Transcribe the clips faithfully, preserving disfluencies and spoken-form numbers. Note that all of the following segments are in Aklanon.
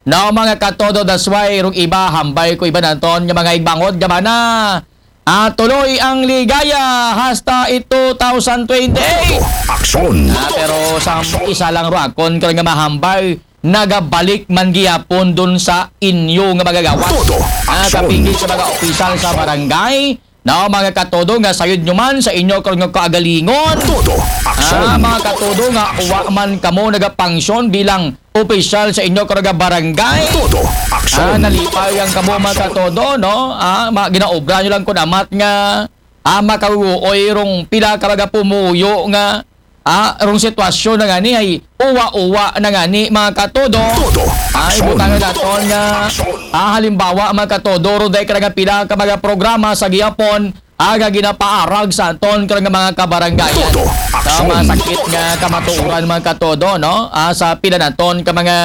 No, mga katodo, that's why rong iba, hambal ko iba naton nga mga igbangod nga mana. Ah, tuloy ang ligaya hasta it two thousand twenty-eight. Aksyon! Ah, pero sa isa lang ro akon karon nga mahambal, nagabalik man gihapon dun sa inyo nga magagawas. Todo Ah, aksyon. Kapigil sa mga opisyal sa barangay, no, mga katodo, nga sayod nyo man sa inyo karon nga kaagalingon. Todo Ah, aksyon! mga katodo, nga wa man kamo nagapangsyon bilang opisyal sa inyo karon nga barangay. Todo Ah, aksyon! nalipay ang kamo, mga katodo, no? Ah, ma ginaobra nyo lang kun amat nga ah, makaguoy rong pila ka mga pumuyo nga ah, rong sitwasyon na gani ay uwa-uwa na gani, mga katodo. Todo Ah, aksyon! ibutang naton nga ah, halimbawa, mga katodo, ro dahil ka nga pila ka mga programa sa gihapon aga ginapaarag sa aton ka nga mga kabarangayan. Todo Ah, aksyon! masakit nga kamatuoran, mga katodo, no? Ah, sa pila naton ka mga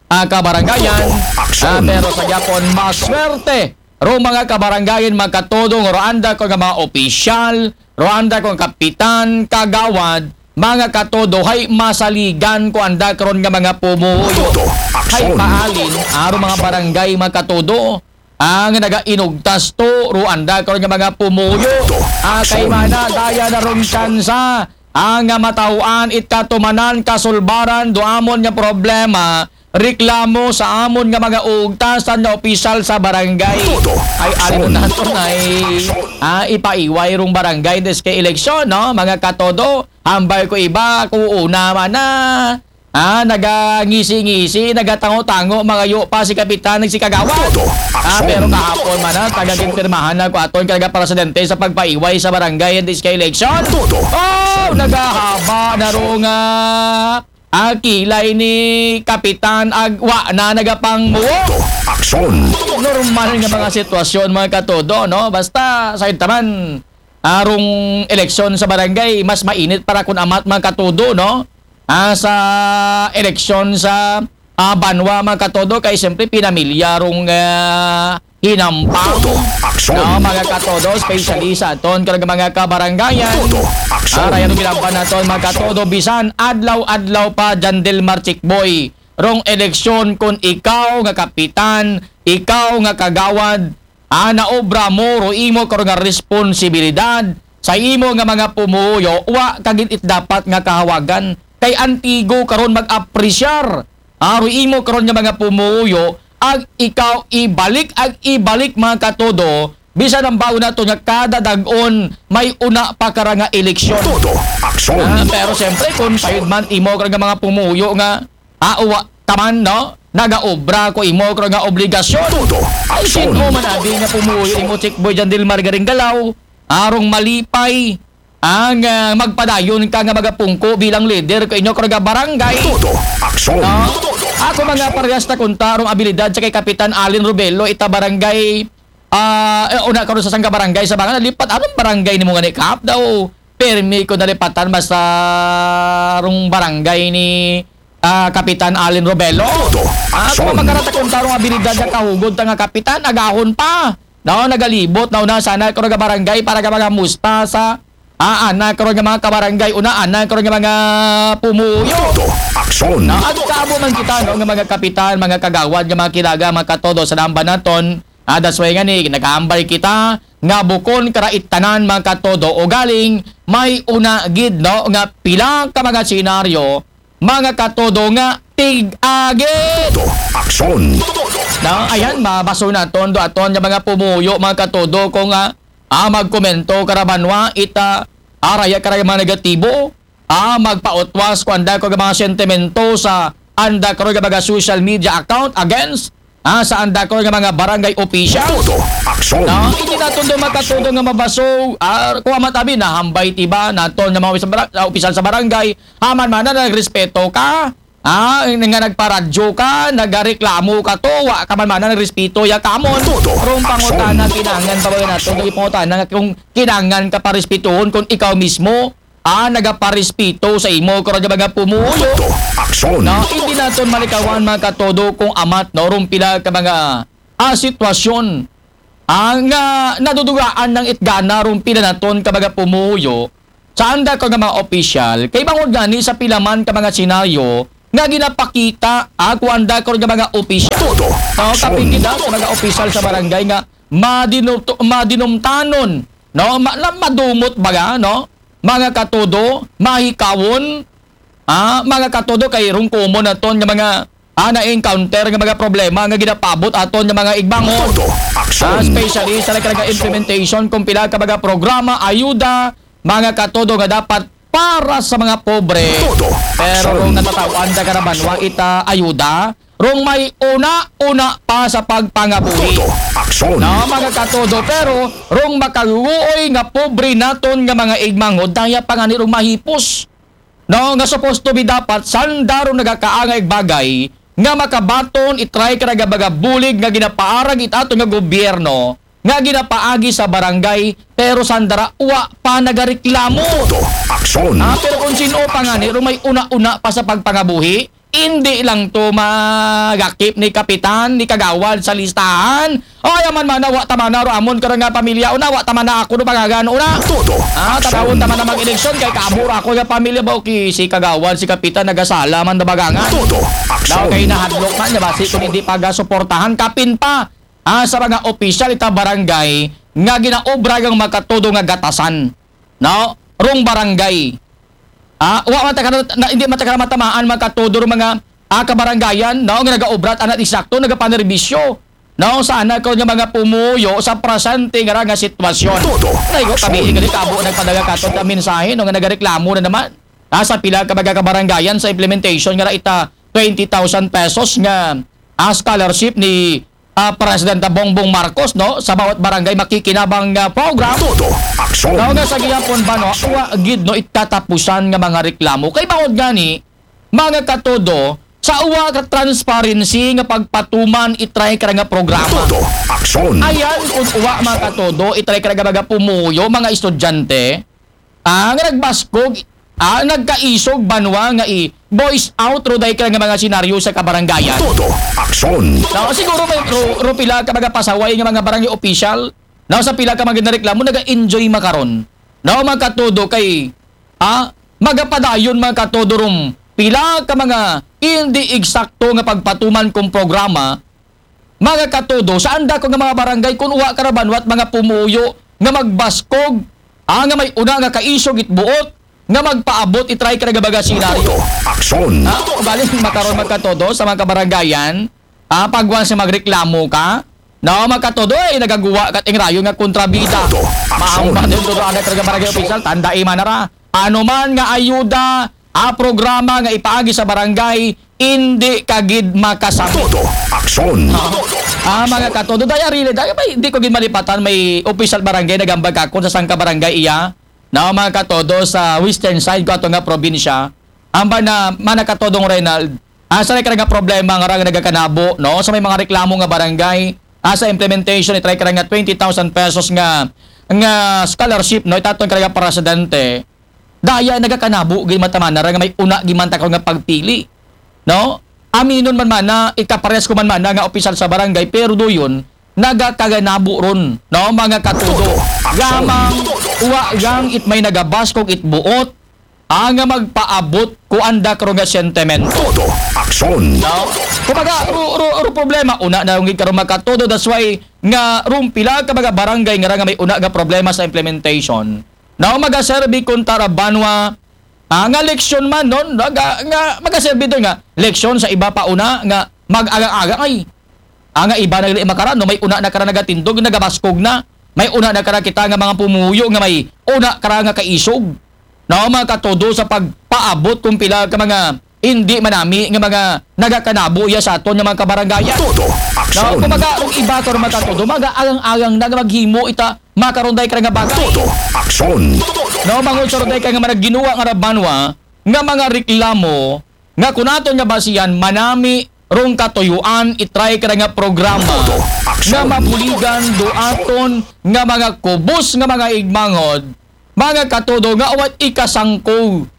ah, kabarangayan. Aksyon! Ah, pero sa gihapon, maswerte ro mga kabarangayan, mga katodo, nga ro anda ko nga mga opisyal, ro anda ko nga kapitan, kagawad, mga katodo, hay masaligan ko anda karon nga mga pumuyo. Todo Hay aksyon! paalin, aro mga barangay, mga katodo, ang nagainugtas to, ro anda karon nga mga pumuyo. Ah, kay Aksyon! mana, daya na rong tsansa ang nga matahuan it katumanan, kasulbaran do amon nga problema, reklamo sa amon nga mga ugtasan nga opisyal sa barangay. Todo Ay, aksyon! alin naton ay ah, ipaiway rong barangay this kay eleksyon, no? Mga katodo, hambal ko iba, ko una man na ah, nagangisi-ngisi, nagatango-tango, mga yo pa si kapitan, si kagawad. Todo Ah, aksyon! pero kahapon man na, tagaginpirmahan na ko aton kay presidente sa pagpaiway sa barangay this kay eleksyon. Todo Oh, nagahaba na ro nga ah, kilay ni kapitan, ag wa na nagapangmuwo. aksyon! Normal nga mga sitwasyon, mga katodo, no? Basta, sa taman, arong eleksyon sa barangay, mas mainit para kun amat, mga katodo, no? Ah, sa eleksyon sa ah, banwa, mga katodo, kay siyempre pinamilya rong ah, hinampang. Aksyon! No, mga katodo, especially sa aton karong mga kabarangayan. Todo aksyon! Ara yan ang ginampan naton, mga katodo, bisan adlaw-adlaw pa, Jan Del Mar Chikboy, rong eleksyon, kun ikaw nga kapitan, ikaw nga kagawad, ah, naobra mo ro imo karon nga responsibilidad sa imo nga mga pumuyo, wa ka gid it dapat nga kahawagan. Kay antigo karon mag-apresyar, ah, ro imo karon nga mga pumuyo, ag ikaw ibalik, ag ibalik, mga katodo, bisan ang bago nato nga kada dag-on may una pa kara nga eleksyon. Todo aksyon! Ah, pero siyempre, kung sayod man imo karon nga mga pumuyo nga ah, uwa taman, no? Nagaobra ko imo karon nga obligasyon. Todo Ay, aksyon! sino man abi nga pumuyo imo, Chikboy Jan Del Mar Garinggalaw? Arong malipay ang ah, magpadayon ka nga magapungko bilang leader ko inyo karon nga barangay. Todo aksyon! No? Ako mga parehas na kunta rong abilidad sa kay Kapitan Allen Robelo, ita barangay, ah, eh, una karon sa sangka barangay sa mga nalipat. Anong barangay nimo nga ni Kap daw? Permi ko nalipatan basta rong barangay ni ah, Kapitan Allen Robelo. Todo Ah, aksyon! kung magkaratakon tarong abilidad nga kahugod ta nga kapitan, agahon pa. No, nagalibot na una sana karon nga barangay para ka mga musta sa ah, ana karon nga mga kabarangay, una ana karon nga mga pumuyo. Todo aksyon! No, ag kaabo man kita, no, nga mga kapitan, mga kagawad, nga mga kilaga, mga katodo sa namba naton. Ah, that's why nga ni, nagahambal kita nga bukon kara it tanan, mga katodo, o galing may una gid, no, nga pila ka mga senaryo, mga katodo, nga tig-agit. Todo aksyon! No, ayan, mabaso naton do aton nga mga pumuyo, mga katodo, kung ah, ah, magkomento kara banwa ita araya kara mga negatibo, ah, magpautwas ko anda ko nga mga sentimento sa anda ko nga mga social media account against ah, sa anda ko nga mga barangay official. Todo aksyon! No, hindi naton do makatudo nga mabaso. Ah, kung amat abi, nahambal ti ba naton nga mga opisyal sa bara- ah, opisyal sa barangay, aman man na nagrespeto ka. Ah, nga nagparadyo ka, nagareklamo ka to, wa ka man man na nagrespeto ya kamon. Todo Rong pangutana, aksyon! kinahanglan pa ba naton nga ipangutana nga kung kinahanglan ka parespetohon kung ikaw mismo ah, nagaparespito sa imo karon nga mga pumuyo. Todo aksyon! No, hindi naton malikawan, mga katodo, kung amat, no, rong pila ka mga ah, sitwasyon ah, nga nadudugaan ng itgana rong pila naton ka mga pumuyo sa anda ko nga mga opisyal, kay bangod gani sa pila man ka mga senaryo, nga ginapakita, ah, kuan da karon nga mga opisyal. Todo. No, aksyon. Kapigid, ah, sa mga opisyal sa barangay nga madinum-, madinumtanon, no, ma-, na madumot baga, no, mga katodo, mahikawon, ah, mga katodo, kay rungkumon naton nga mga, ah, na-encounter nga mga problema nga ginapaabot aton nga mga igbangon. Todo. Aksyon. Ah, especially sa nagkalaga implementation kung pila ka mga programa, ayuda, mga katodo nga dapat para sa mga pobre. Todo. Pero aksyon. Kung natataw-an da ka na banwa ita ayuda, rong may una-una pa sa pagpangabuhi. Todo. Aksyon. Na mga katodo, pero rong makaguoy nga pobre naton nga mga igmanghod, daya pa nga ni rong mahipos. No, nga supposed to be dapat sanda rong nagakaangay bagay nga makabaton itry ka nga mga bulig nga ginapaarag it ato nga gobyerno nga ginapaagi sa barangay, pero sandara wa pa nagareklamo. Todo. Aksyon. Ah, pero kung sino pa nga ni, may una-una pa sa pagpangabuhi, hindi lang to magakip ni kapitan, ni kagawad sa listahan. Ay, aman man na, wa ta man na, ro amon ka nga pamilya, una, wa ta man na ako, no, pangagan, una. Todo. Ah, aksyon. Tanawon ta man na mag-eleksyon, kay kaabor ako nga pamilya ba, okay, si kagawad, si kapitan, nagasala man na bagangan. Todo. Aksyon. Daw kay nahadlok man, niya, basi kung hindi pagasuportahan, kapin pa. Ah, sa mga opisyal ita barangay nga ginaobra ang makatodo nga gatasan. No? Rong barangay. Ah, wa man ta ka na, hindi man ta ka na matamaan makatodo rong mga, ah, kabarangayan, no, nga nagaobra at anak isakto, nagapanerbisyo. No, sana ko nga mga pumuyo sa presente nga ra nga sitwasyon. Todo. Naigo kami, aksyon. Ikali kabo nagpadala kato ka mensahe, no, nga nagareklamo na naman. Ah, sa pila ka mga kabarangayan sa implementation nga ra ita twenty thousand pesos nga, ah, scholarship ni ah, Presidenta Bongbong Marcos, no, sa bawat barangay makikinabang nga program. Todo aksyon. Daw nga sa gihapon ba, no, wa gid, no, ikatapusan nga mga reklamo. Kay bawod gani, mga katodo, sa uwa ka transparency nga pagpatuman itry ka nga programa. Todo aksyon. Ayan, kung uwa, mga katodo, itry ka nga mga pumuyo, mga estudyante, ah, nga nagbaskog, ah, nagkaisog banwa nga i-voice out ro day ka nga mga senaryo sa kabarangayan. Todo aksyon. No, siguro may ro, ro pila ka mga pasaway nga mga barangay official. No, sa pila ka mga nareklamo, naga-enjoy makaron. No, mga katodo kay, ah, magapadayon mga katodo rum pila ka mga hindi eksakto nga pagpatuman kung programa, mga katodo, sa anda ko nga mga barangay, kung uwa ka ra banwat mga pumuyo nga magbaskog, ah, nga may una nga kaisog it buot, nga magpaabot itry ka nga baga senaryo. Todo aksyon. Ah, bali, makaron magkatodo sa mga kabarangayan, ah, pagwan sa magreklamo ka, no, magkatodo, eh, nagaguwa ka ting rayo nga kontrabida. Todo aksyon. Maambat din todo anak ka nga barangay official, tanda iman na ra. Ano man nga ayuda, ah, programa nga ipaagi sa barangay, hindi ka gid makasabot. Todo aksyon. Ah, mga katodo, daya really, daya may, hindi ko gid malipatan, may official barangay nagambag ako sa sangka barangay iya. No, mga katodo, sa western side ko ato nga probinsya. Amba na, mga katodong Reynald, ah, sa nga problema nga ra nga nagakanabo, no, sa may mga reklamo nga barangay, ah, sa implementation, itry ka nga twenty thousand pesos nga, nga scholarship, no, itaton ka nga presidente. Daya nagakanabo gid mataman na ra nga may una gid man ta karon nga pagpili. No? Aminon man man na, ikapares ko man man na nga opisyal sa barangay, pero doyon, nagakaganabo ron, no? Mga katudo. Gamang, uwa gang it may nagabaskog it buot, ah, nga magpaabot ko anda karon nga sentimento. Todo aksyon. No? Kumbaga, ru, ru, ru problema, una na yung karon mga katudo, that's why nga rumpila ka mga barangay nga ra nga may una nga problema sa implementation. No, magaserbi kun tara banwa, ah, nga leksyon man, no? Nga, nga magaserbi doon nga leksyon sa iba pa una nga mag-agang-agang ay. Ah, nga iba na gali makaran, no? May una na kara nagatindog, nagabaskog na. May una na kara kita nga mga pumuyo nga may una kara nga kaisog. No, mga katudo sa pagpaabot kung pila ka mga hindi manami nga mga nagakanabo iya sa aton nga mga kabarangayan. Todo aksyon. No, kumbaga, kung iba to mga katudo, mga agang-agang na nga maghimo ita makaron day ka nga bagay. Todo aksyon. No, mangon sa day ka nga managginuwa nga ra banwa nga mga reklamo nga kun aton nga basihan manami rong katuyuan itry ka nga programa. Todo aksyon. Nga mabuligan do aton nga mga kubos nga mga igmangod, mga katudo nga awat ikasangko.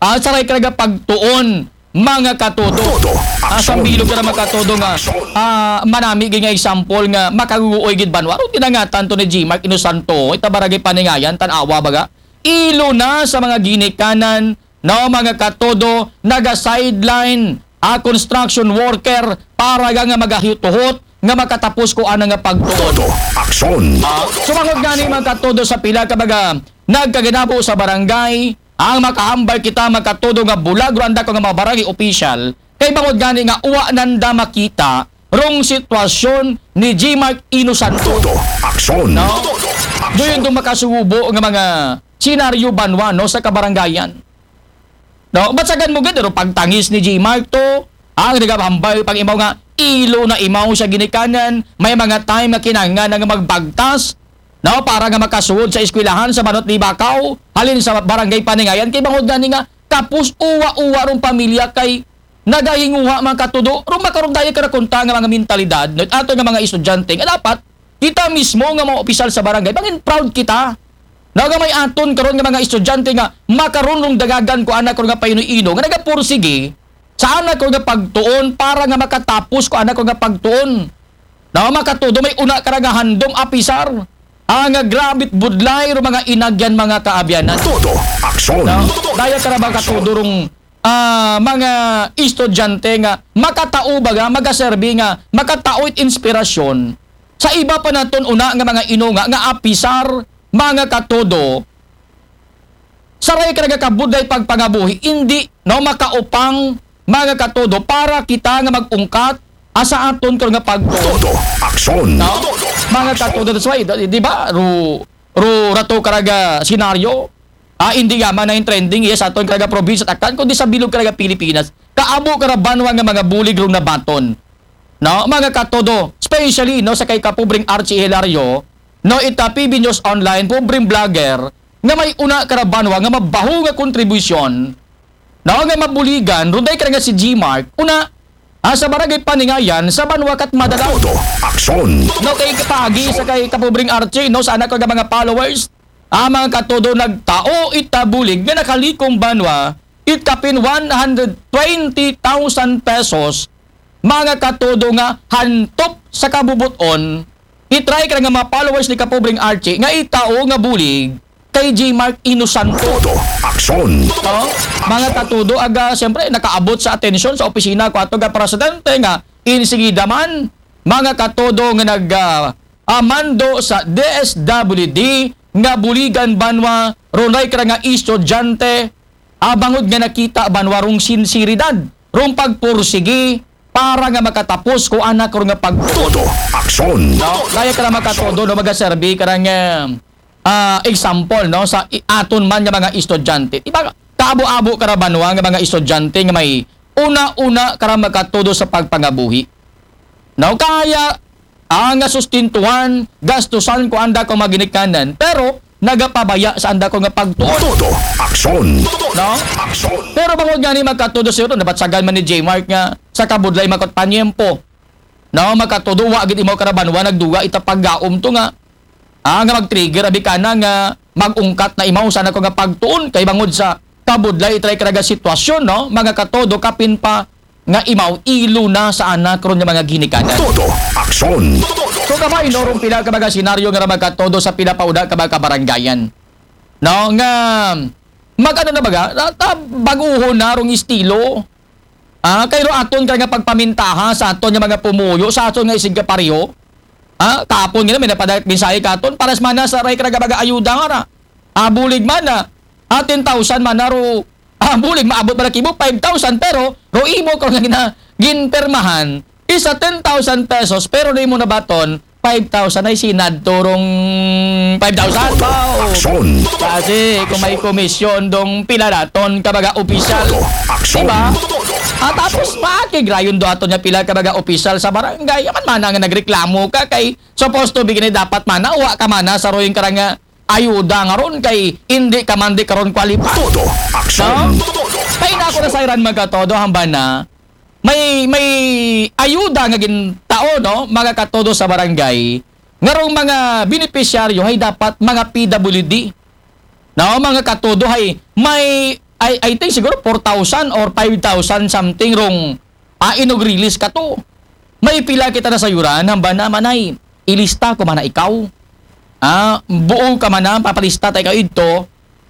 Ah, saray ka nga pagtuon, mga katudo. Todo ah, sa aksyon. Bilog ka na mga katudo nga, ah, manami gid nga example nga makaguoy gid banwa. Aro tinangatan to ni G Mark Inosanto, ita barangay Paningayan, Tanawa baga. Ilo na sa mga ginikanan, no, mga katodo, naga-sideline a construction worker para nga, nga magahuhuhot nga makatapos ko ana nga pagtuon. Todo aksyon. Ah, sumangod gani, mga katodo, sa pila ka mga nagkaginabo sa barangay, ang makahambal kita, mga katodo, nga bulag ro anda ko nga mga barangay official, kay bangod gani nga uwa nanda makita rong sitwasyon ni G Mark Inosanto. Todo aksyon. No? Todo aksyon. Doon itong makasubo nga mga senaryo banwa, no, sa kabarangayan. No, basagan mo gid, pero pagtangis ni G Mark to, ang nagahambal pang imaw nga ilo na imaw sa ginikanan, may mga time nga kinahanglan nga magbagtas, no, para nga makasuod sa eskwelahan sa Banot ni Bakaw, halin sa barangay Paningayan, kay bangod gani nga kapos uwa-uwa rong pamilya kay nagahinguha, mga katodo, rong makaron daya karakunta nga mga mentalidad, no, ato nga mga estudyante, nga dapat kita mismo nga mga opisyal sa barangay, bangin proud kita. Na nga may aton karon nga mga estudyante nga makaron rong dagagan ko anak ko nga paino-ino, nga nagapursige sa anak ko nga pagtuon para nga makatapos ko anak ko nga pagtuon. Na mga katodo, may una ka nga handom apisar, ah, nga grabit budlay ro mga inagyan, mga kaabyanan. Todo aksyon. No? Daya ka ra ba katodo rong, ah, mga estudyante nga makatao ba nga, magaserbi nga, makatao it inspirasyon sa iba pa naton una nga mga inunga nga apisar, mga katodo, saray ka nga kabudlay pagpangabuhi, hindi, no, makaupang, mga katodo, para kita nga mag-ungkat asa aton karon nga pagtuon. Todo aksyon. No? Mga katodo, that's why, di di ba, ru, ru, rato karaga senaryo, ah, hindi yaman na yung trending, yes, aton karaga probinsya Takan, kundi sa bilog karaga Pilipinas. Kaabo kara banwa nga mga bulig rong nabaton. No, mga katodo, especially, no, sa kay kapobreng Archie Hilario, no, ita P B News Online, pobreng vlogger, nga may una kara banwa nga mabaho nga kontribusyon, no, nga mabuligan, runday ka nga si G Mark, una, ah, sa barangay Paningayan, sa banwa kat Madalaw. Todo aksyon. No, kay kapaagi sa kay kapobreng Archie, no, sa anak ko nga mga followers, ah, mga katodo, nagtao ita bulig nga nakalikom banwa, it kapin one hundred twenty thousand pesos, mga katodo, nga hantop sa kabubuton, itry ka nga mga followers ni kapobreng Archie nga itao nga bulig kay G Mark Inosanto. Todo aksyon. No? Mga katodo, aga, siyempre, nakaabot sa atensyon sa opisina ko ato nga presidente nga insigida man, mga katodo, nga nag, ah, ah, mando sa D S W D nga buligan banwa, runay ka nga estudyante, ah, bangod nga nakita banwa rong sinseridad rong pagpursigi para nga makatapos ko anak ro nga pagtuon. Todo aksyon. No? Kaya ka na makatodo, no, magaserbi ka nga, ah, example, no, sa i-, aton man nga mga estudyante. Di ba, kaabo-abo ka ra banwa nga mga estudyante nga may una-una ka ra makatodo sa pagpangabuhi. No, kaya ang nga sustintuhan, gastusan ko anda ko maginikanan, pero nagapabaya sa anda ko nga pagtuon. Todo aksyon. No? Aksyon. Pero bangod gani, mga katodo, siguro nabatsagan man ni J Mark nga sa kabudlay makot panyempo. No, mga katodo, wa gid imaw ka ra banwa nagduga ita paggaom to nga, ah, nga mag-trigger abi kana nga mag-ungkat na imaw sa anak ko nga pagtuon kay bangod sa kabudlay itray ka ra nga sitwasyon, no, mga katodo, kapin pa nga imaw ilo na sa anak ron nga mga ginikanan. Todo aksyon. So, kabay, no, rong pila ka mga senaryo nga ra, mga katodo, sa pila pa una ka mga kabarangayan, no, nga mag-ano na baga, na, na, baguhon na rong estilo. Ah, kay ro aton ka nga pagpamintaha sa aton nga mga pumuyo, sa aton nga isigkapareho. Ah, kapon nga na, may napadayag mensahe katon, pares man na sa ray ka nga mga ayuda nga ra. Ah, bulig man na. Ah, ten thousand man na ro. Ah, bulig, maabot man na kimo five thousand, pero ro imo ko nga gina-, ginpermahan, isa ten thousand pesos, pero di mo nabaton, five thousand ay sinad turong five thousand. Todo aksyon. Kasi kung may komisyon dong pila daton ka mga opisyal. Todo aksyon. Diba? At tapos, makigrayon do aton nga pila ka mga opisyal sa barangay. Yaman mana nga nagreklamo ka kay supposed to be gini dapat mana, wa ka mana sa royong karang nga ayuda nga ron kay hindi ka man di karon qualified. Todo aksyon. No? Kay na ako nasayran, mga katodo, hamba na may, may ayuda nga gintao, no, mga katodo, sa barangay, nga rong mga benepisyaryo ay dapat mga P W D. No, mga katodo, ay may, I, I think siguro four thousand or five thousand something rong, ah, inug-release kato. May pila kita nasayuran, hamba na, manay, ilista ko mana ikaw. Ah, buo ka mana, papalista ta ikaw idto.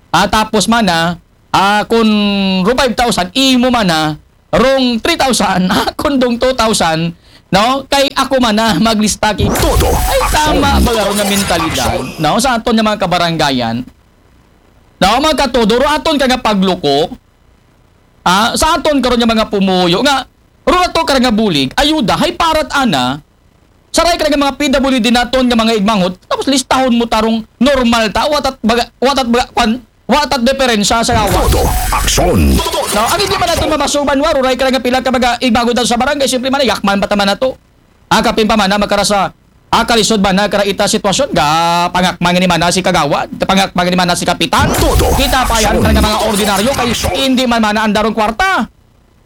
Ah, tapos mana, Ah, kun rong five thousand, imo man na, rong three thousand, akon dong two thousand, no? Kay ako man na maglista ki. Todo Ay, tama aksyon. ba karon nga mentalidad, no? Sa aton nga mga kabarangayan, no? Mga katodo, ro aton ka nga pagluko, ah, sa aton karon nga mga pumuyo, nga, ro ato ka nga bulig, ayuda, hay parat ana, saray ka nga mga P W D naton nga mga igmanghod, tapos listahon mo tarong normal ta, watat baga, watat baga, kwan, watat diferensya sa gawa. Todo aksyon. No, ang hindi man nato mamasuban, wa, ruray ka nga pila ka mga igmanghod sa barangay, siyempre man, yakman pa taman nato. Akapin pa man na makarasa, akalisod man na kara ita sitwasyon, ga pangakmang ni mana si kagawad, pangakmang ni mana si kapitan. Todo Kita pa yan aksyon. Ka nga mga ordinaryo, kay hindi man mana andarong kwarta.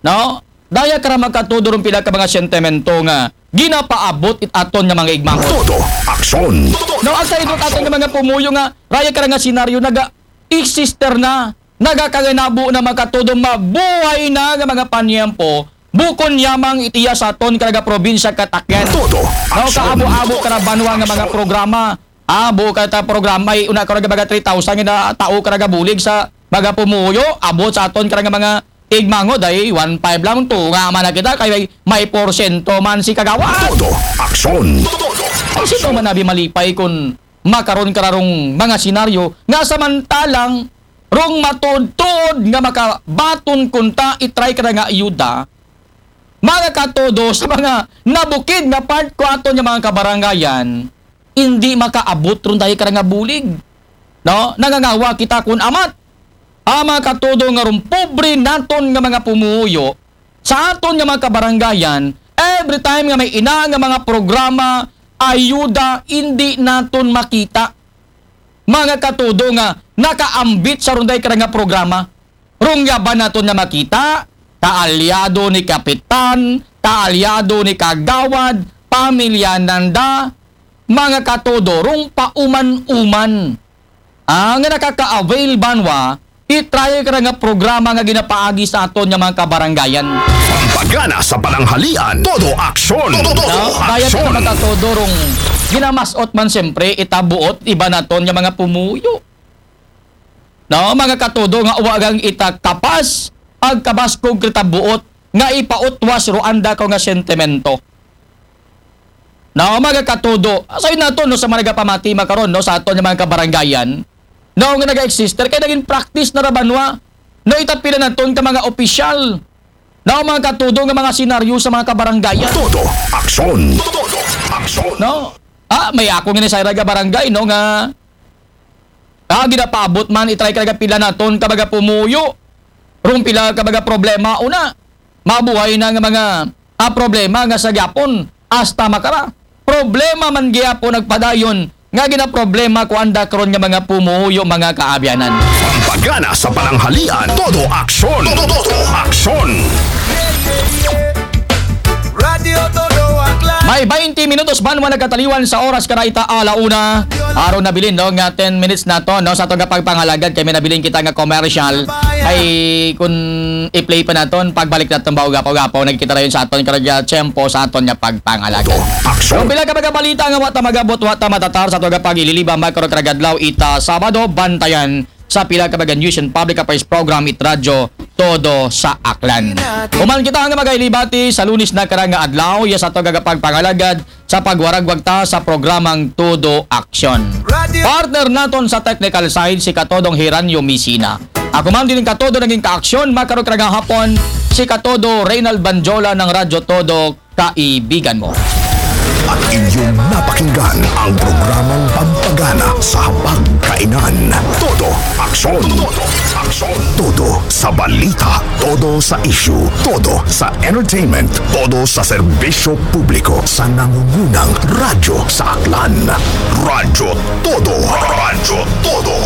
No? Daya kara makatudo rong pila ka mga sentimento nga ginapaabot it aton nga mga igmanghod. Todo aksyon. No, ang sa idot aton nga mga pumuyo nga, raya kara nga senaryo, naga-exist na, nagakaganabo na makatudo, mabuhay na nga mga panyempo, bukon yamang itiya sa aton karaga probinsya katakyan. Todo No, aksyon. kaabo-abo kara banwa nga mga programa. Abo ka ta programa, ay una ka nga mga three thousand nga tao ka nagabulig sa mga pumuyo, abot sa aton ka nga mga igmanghod, ay one five lang, tunga man na kita, kay may, may porsyento man si kagawad. Todo aksyon. Ay, sino man abi malipay kun makaron kararong mga senaryo nga samantalang rong matuod-tuod nga makabaton kunta itry ka nga ayuda, mga katodo, sa mga nabukid nga part ko aton nga mga kabarangayan, hindi makaabot ron dahil ka nga bulig. No? Nangangawa kita kun amat. Ang mga katodo nga rong pobre naton nga mga pumuyo, sa aton nga mga kabarangayan, every time nga may ina nga mga programa, ayuda, hindi naton makita. Mga katodo nga nakaambit sa runday ka nga programa. Rong yaban naton nga makita, kaalyado ni kapitan, kaalyado ni kagawad, pamilya nanda, mga katodo, rong pauman-uman. Ang nakaka-avail banwa, itry ka nga programa nga ginapaagi sa aton nga mga kabarangayan. Pampagana sa pananghalian. Todo aksyon. Todo No? Kaya aksyon. Mga katodo, rong ginamasot man siyempre, itabuot, iba naton nga mga pumuyo. No, mga katodo, nga uwagang ita kapas, agkabaskog kita buot, nga ipautwas ro anda ko nga sentimento. No, mga katodo, asay nato, no, sa mga nagapamati makaron, no, sa aton nga mga kabarangayan, no, nga naga-exist, kay naging practice na ra banwa, no, itapila naton ka mga opisyal, no, mga katodo, nga mga senaryo sa mga kabarangayan. Todo aksyon. Todo aksyon. No? Ah, may ako nga ni sa ira nga barangay, no, nga, ah, ginapaabot man, itry ka nga pila naton ka mga pumuyo. Rong pila ka mga problema, una, mabuhay na nga mga, ah, problema nga sa gyapon, hasta makara. Problema man gyapon nagpadayon, nga ginaproblema ko anda karon nga mga pumuyo, mga kaabyanan. Pampagana sa pananghalian. Todo aksyon. Todo aksyon. Radio Todo Aklan. May twenty minutos banwa nagkataliwan sa oras ka na ita ala una. Aron nabilin, no, nga ten minutes na to, no, sa aton nga pagpangalagad kay may nabilin kita nga commercial. Kay kun i-play pa naton, pagbalik naton, baugapaw-gapaw, nagkita dayon sa aton karagya tiyempo sa aton nga pagpangalagad. Aksyon. Kung pila ka mga balita nga wa ta magabot, wa ta matatar sa aton nga pag-ililiba, makaro karagadlaw ita Sabado, bantayan sa pila ka mga news and public affairs program it Radyo Todo sa Aklan. Human kita nga magailibati sa Lunes na karang nga adlaw, iya sa ato nga pagpangalagad sa pagwaragwag ta sa programang Todo Aksyon. Partner naton sa technical side si Katodong Hiranyo Misina. Ako man din Katodo naging kaaksyon, makaro karang hapon si Katodo Reynald Banjola ng Radyo Todo, kaibigan mo. At inyong napakinggan ang programang pampagana sa hapagkainan. Todo aksyon. Todo aksyon. Todo sa balita. Todo sa issue. Todo sa entertainment. Todo sa serbisyo publiko. Sa nangungunang radyo sa Aklan. Radyo Todo. Radyo Todo.